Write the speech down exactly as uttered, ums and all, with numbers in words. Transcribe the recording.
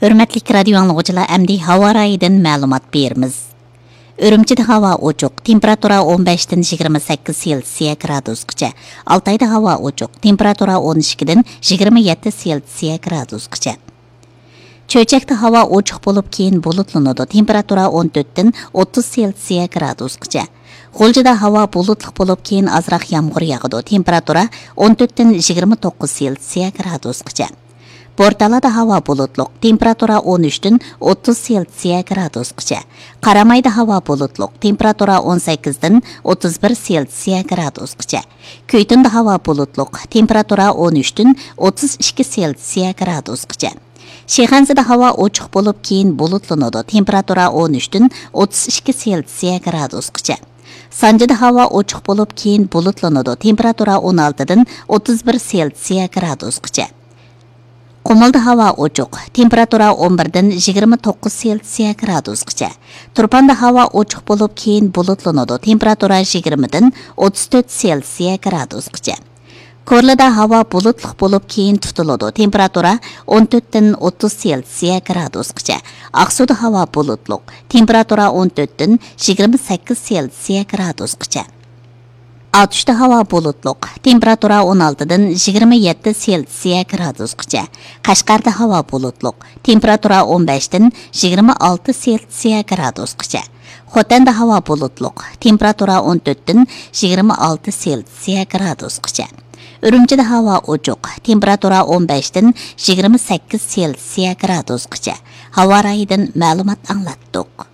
ھۆرمەتلىك رادىيو ئاڭلىغۇچىلار، ئەمدى ھاۋا رايىدىن مەلۇمات بېرىمىز. ئۈرۈمچىدە ھاۋا ئوچۇق، تېمپېراتۇرا ئون بەشتىن يىگىرمە سەككىز سېلسىيە گرادۇسقىچە. ئالتايدا ھاۋا ئوچۇق، تېمپېراتۇرا ئون ئىككىدىن يىگىرمە يەتتە سېلسىيە گرادۇسقىچە. چۆچەكتە ھاۋا ئوچۇق بولۇپ، كېيىن بۇلۇتلىنىدۇ، تېمپېراتۇرا ئون تۆتتىن ئوتتۇز سېلسىيە گرادۇسقىچە. غۇلجىدا ھاۋا بۇلۇتلۇق بولۇپ، كېيىن ئازراق يامغۇر ياغىدۇ، تېمپېراتۇرا ئون تۆتتىن يىگىرمە توققۇز سېلسىيە گرادۇسقىچە. بورتالادا ھاۋا بۇلۇتلۇق، تېمپېراتۇرا ئون ئۈچتىن ئوتتۇز سېلسىيە گرادۇسقىچە. قارامايدا ھاۋا بۇلۇتلۇق، تېمپېراتۇرا ئون سەككىزدىن ئوتتۇز بىر سېلسىيە گرادۇسقىچە. كۈيتۇندا ھاۋا بۇلۇتلۇق، تېمپېراتۇرا ئون ئۈچتىن ئوتتۇز ئىككى سېلسىيە گرادۇسقىچە. شىخەنزىدە ھاۋا ئوچۇق بولۇپ، كېيىن بۇلۇتلىنىدۇ، تېمپېراتۇرا ئون ئۈچتىن ئوتتۇز ئىككى سېلسىيە گرادۇسقىچە. سانجىدا ھاۋا ئوچۇق بولۇپ، كېيىن بۇلۇتلىنىدۇ، تېمپېراتۇرا ئون ئالتىدىن ئوتتۇز بىر سېلسىيە گرادۇسقىچە. قۇمۇلدا ھاۋا ئوچۇق، تېمپېراتۇرا ئون بىردىن يىگىرمە توققۇز سېلسىيە گرادۇسقىچە. تۇرپاندا ھاۋا ئوچۇق بولۇپ، كېيىن بۇلۇتلىنىدۇ، تېمپېراتۇرا يىگىرمىدىن ئوتتۇز تۆت سېلسىيە گرادۇسقىچە. كورلىدا ھاۋا بۇلۇتلۇق بولۇپ، كېيىن تۇتۇلىدۇ، تېمپېراتۇرا ئون تۆتتىن ئوتتۇز سېلسىيە گرادۇسقىچە. ئاقسۇدا ھاۋا بۇلۇتلۇق، تېمپېراتۇرا ئون تۆتتىن يىگىرمە سەككىز سېلسىيە گرادۇسقىچە. ئاتۇشتا ھاۋا بۇلۇتلۇق، تېمپېراتۇرا ئون ئالتىدىن يىگىرمە يەتتە سېلسىيە گرادۇسقىچە. قەشقەردە ھاۋا بۇلۇتلۇق، تېمپېراتۇرا ئون بەشتىن يىگىرمە ئالتە سېلسىيە گرادۇسقىچە. خوتەندە ھاۋا بۇلۇتلۇق، تېمپېراتۇرا ئون تۆتتىن يىگىرمە ئالتە سېلسىيە گرادۇسقىچە. ئۈرۈمچىدە ھاۋا ئوچۇق، تېمپېراتۇرا ئون بەشتىن يىگىرمە سەككىز سېلسىيە گرادۇسقىچە. ھاۋا رايىدىن مەلۇمات ئاڭلاتتۇق.